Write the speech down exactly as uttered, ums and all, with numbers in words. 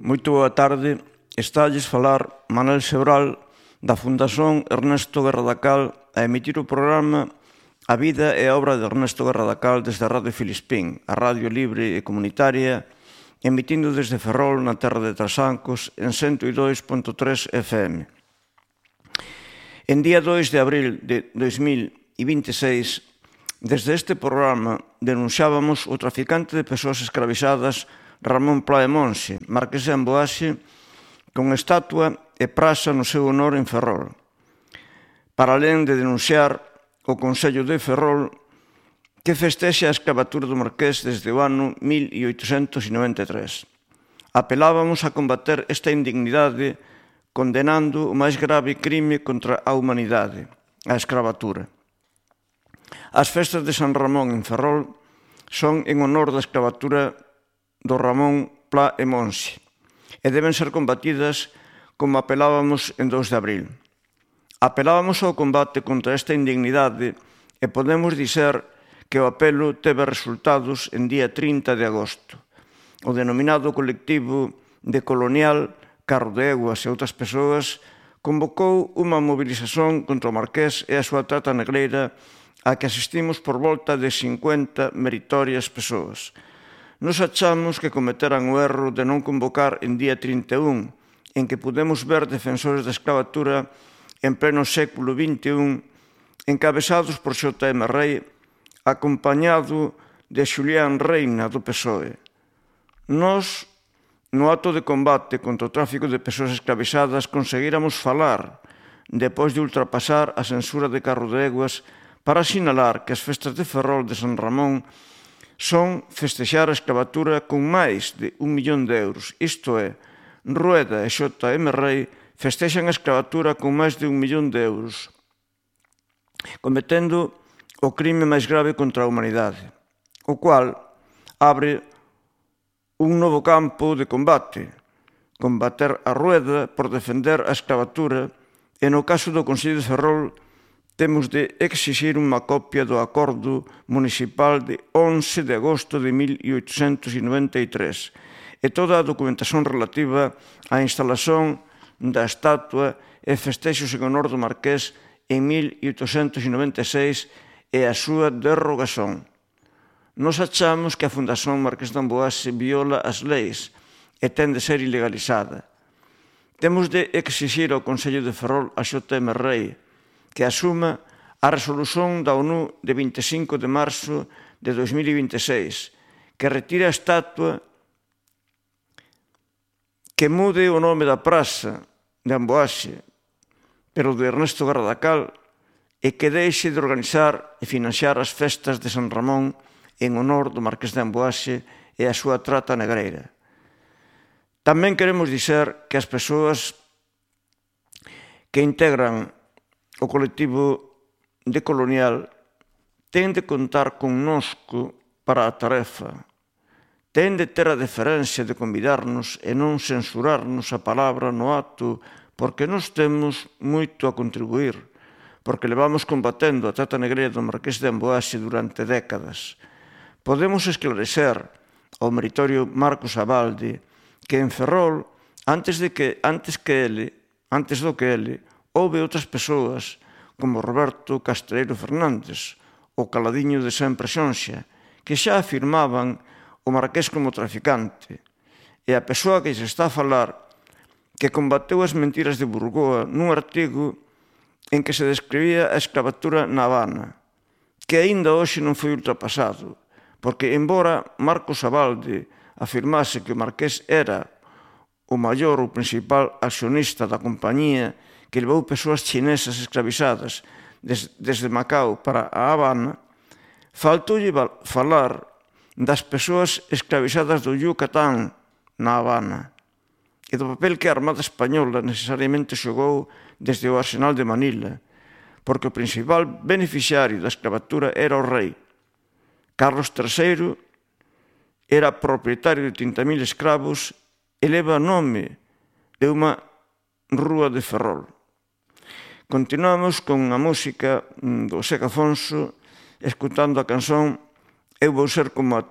Moito boa tarde. Estalles falar Manel Sebral da Fundación Ernesto Guerra da Cal a emitir o programa A vida e a obra de Ernesto Guerra da Cal desde a Radio Filispín, a radio libre e comunitaria, emitindo desde Ferrol, na terra de Trasancos, en ciento dos punto tres F M. En día dois de abril de dois mil veintiséis, desde este programa denunciábamos o traficante de persoas escravizadas Ramón Pla e Monxe, marqués de Amboase, con estatua e praza no seu honor en Ferrol. Para alén de denunciar o Consello de Ferrol que festexa a escravatura do marqués desde o ano mil oitocentos noventa e tres. Apelábamos a combater esta indignidade condenando o máis grave crime contra a humanidade, a escravatura. As festas de San Ramón en Ferrol son en honor da escravatura do Ramón Pla e Monxe e deben ser combatidas como apelábamos en dous de abril. Apelábamos ao combate contra esta indignidade e podemos dizer que o apelo teve resultados en día trinta de agosto. O denominado colectivo de Colonial, Carro de Eguas e outras persoas convocou unha mobilización contra o marqués e a súa trata negreira a que asistimos por volta de cincuenta meritorias persoas. Nos achamos que cometeran o erro de non convocar en día trinta e un, en que podemos ver defensores da escravatura en pleno século vinte e un, encabezados por Xota eme Rei, acompañado de Xulián Reina do P S O E. Nós, no acto de combate contra o tráfico de persoas escravizadas, conseguíramos falar, depois de ultrapasar a censura de Carro de Eguas, para sinalar que as festas de Ferrol de San Ramón son festexar a escravatura con máis de un millón de euros. Isto é, Rueda e Xota eme Rei festexan a escravatura con máis de un millón de euros, cometendo o crime máis grave contra a humanidade, o cual abre un novo campo de combate, combater a Rueda por defender a escravatura, e no caso do Consello de Ferrol temos de exixir unha copia do acordo municipal de once de agosto de mil oitocentos noventa e tres e toda a documentación relativa á instalación da estatua e festexos en honor do marqués en mil oitocentos noventa e seis e a súa derrogación. Nos achamos que a Fundación Marqués de Amboase viola as leis e ten de ser ilegalizada. Temos de exixir ao Consello de Ferrol a Xota eme Rei que asuma a resolución da ONU de vinte e cinco de marzo de dois mil vinte e seis, que retire a estatua, que mude o nome da praza de Amboase, pero de Ernesto Guerra da Cal, e que deixe de organizar e financiar as festas de San Ramón en honor do marqués de Amboase e a súa trata negreira. Tamén queremos dizer que as persoas que integran o colectivo de Colonial ten de contar connosco para a tarefa, ten de ter a deferencia de convidarnos e non censurarnos a palabra no acto, porque nos temos moito a contribuir, porque levamos combatendo a trata negreira do marqués de Amboase durante décadas. Podemos esclarecer ao meritorio Marcos Abalde que en Ferrol, antes de que antes que ele, antes do que ele, houve outras persoas como Roberto Castreiro Fernández, o caladiño de sempre Xonxa, que xa afirmaban o marqués como traficante, e a persoa que se está a falar que combateu as mentiras de Burgoa nun artigo en que se describía a escravatura na Habana, que aínda hoxe non foi ultrapasado, porque, embora Marcos Abalde afirmase que o marqués era o maior ou principal accionista da compañía que levou persoas chinesas escravizadas desde Macao para a Habana, faltoulle falar das persoas escravizadas do Yucatán na Habana e do papel que a Armada Española necesariamente xogou desde o Arsenal de Manila, porque o principal beneficiario da escravatura era o rei. Carlos terceiro era propietario de trinta mil escravos e leva nome de unha rúa de Ferrol. Continuamos con a música do Seca Afonso, escutando a canción Eu vou ser como a